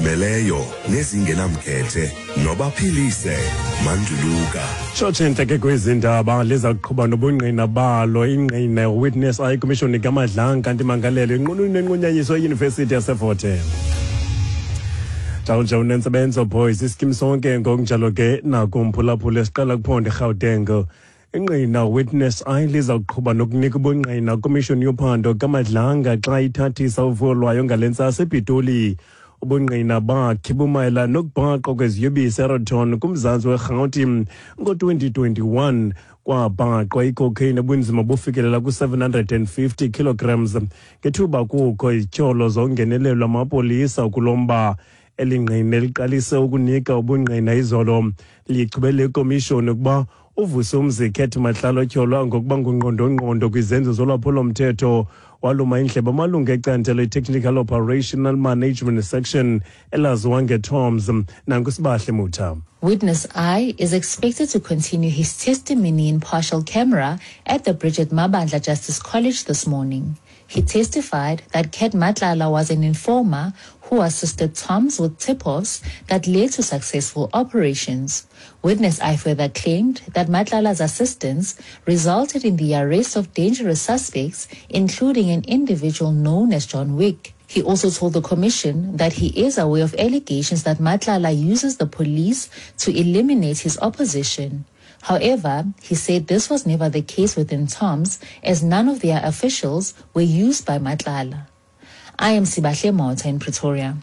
Ezizimeleyo nezingenamkhethe nobaphilise Manduluka. Tshotshe intleke kwezi ndaba liza kuqhuba nobungqina balo ingqina Witness I Commission kaMadlanga kanti mangalelo inqununu nenqunyanyiso yeYunivesithi yaseFort Hare. Njalo unentsebenzo boys iskim sonke ngokunjalo ke nakumphulaphula esiqala kuphondo eGauteng. Ingqina Witness I liza kuqhuba nokunika ubungqina kwimishoni yophando kaMadlanga xa ithathisa uvuyo lwayo ngale ntsasa ePitoli. Ubungqina bakhe bumayela nokubhaqwa kweziyobisi eRoton kumzantsi weRhawuti ngo-2021. Kwabhaqwa icocaine ebunzima bufikelela ku-750 kilograms ngethuba kukho izityholo zongenelelo amapolisa kulo mba. Eli ngqina liqalise ukunika ubungqina izolo lichubele ikomishoni ukuba uVusumzi Cat Matlala otyholwa ngokuba ngungqondongqondo kwizenzo zolwaphulomthetho waluma indlebe amalungu ecandelo i-Technical Operational Management Section elaziwa ngeTOMS. Nankusibahle Mutha. Witness I is expected to continue his testimony in partial camera at the Bridget Mabandla Justice College this morning. He testified that Cat Matlala was an informer who assisted Toms with tip-offs that led to successful operations. Witness I further claimed that Matlala's assistance resulted in the arrest of dangerous suspects, including an individual known as John Wick. He also told the commission that he is aware of allegations that Matlala uses the police to eliminate his opposition. However, he said this was never the case within TOMS, as none of their officials were used by Matlala. I am Sibahle Mota in Pretoria.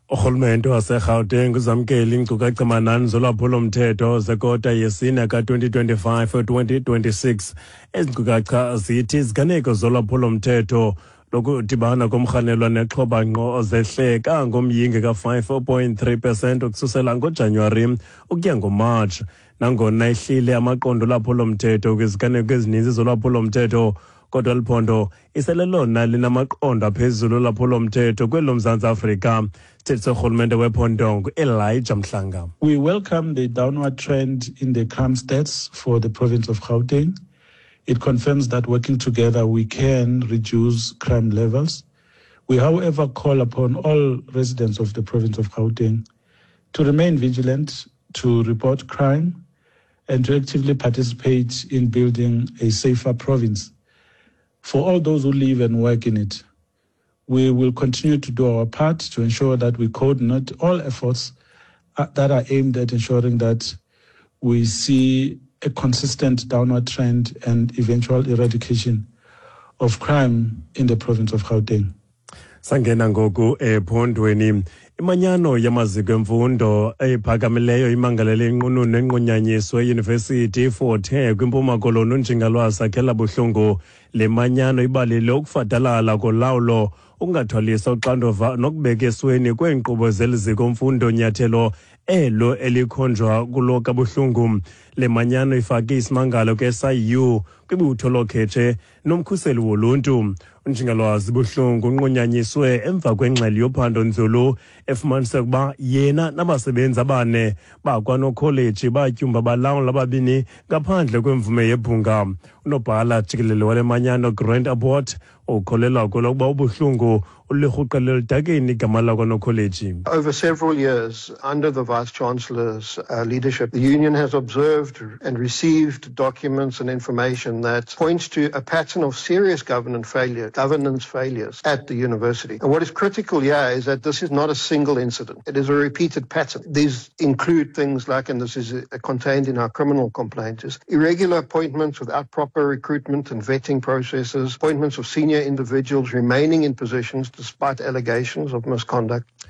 Urhulumente waseGauteng uzamkele iinkcukacha-manani zolwaphulomthetho zekota yesine ka-2025-2026. Ezi nkcukacha zithi iziganeko zolwaphulomthetho lokudibana komrhanelwa nexhoba ngqo zehle kangomyinge ka-5.3 percent ukususela ngoJanuwari ukuya ngoMatshi. Nangona ihlile amaqondo olwaphulomthetho kwiziganeko ezininzi zolwaphulomthetho, kodwa liphondo iselelona linamaqondo aphezulu olwaphulomthetho kweli loMzantsi Afrika. Isithethi sorhulumente wephondo ngu-Elijah Mhlanga. We welcome the downward trend in the crime stats for the province of Gauteng. It confirms that working together we can reduce crime levels. We, however, call upon all residents of the province of Gauteng to remain vigilant, to report crime, and to actively participate in building a safer province for all those who live and work in it. We will continue to do our part to ensure that we coordinate all efforts that are aimed at ensuring that we see a consistent downward trend and eventual eradication of crime in the province of Gauteng. Sangena ngoku ephondweni. Imanyano yamaziko emfundo ephakamileyo imangalele inqununu nenqunyanyiswe eyunivesithi iFort Hare kwiMpuma Koloni, unjingalwazi Sakhela Buhlungu. Le manyano ibalile ukufadalala kolawulo, ukungathwalisa uxanduva nokubeka esweni kweenkqubo zeli ziko mfundo, nyathelo elo elikhonjwa kulo kaBuhlungu. Le manyano ifake isimangalo ke-SIU, kwibutho lokhetshe nomkhuseli woluntu. Unjingalwazi Buhlungu unqunyanyiswe emva kwengxelo yophando nzulu efumanise ukuba yena nabasebenzi abane bakwanokholeji batyumba balawula ababini ngaphandle kwemvume yebhunga. Unobhala jikelele wale manyano, Grant Abbott, ukholelwa kwelokuba uBuhlungu ulirhuqele eludakeni igama lakwanokholeji. Over several years, under the Vice Chancellor's leadership, the union has observed and received documents and information that points to a pattern of serious governance failures at the university. And what is critical here is that this is not a single incident. It is a repeated pattern. These include things like, and this is contained in our criminal complaint, is irregular appointments without proper recruitment and vetting processes, appointments of senior individuals remaining in positions despite allegations of misconduct.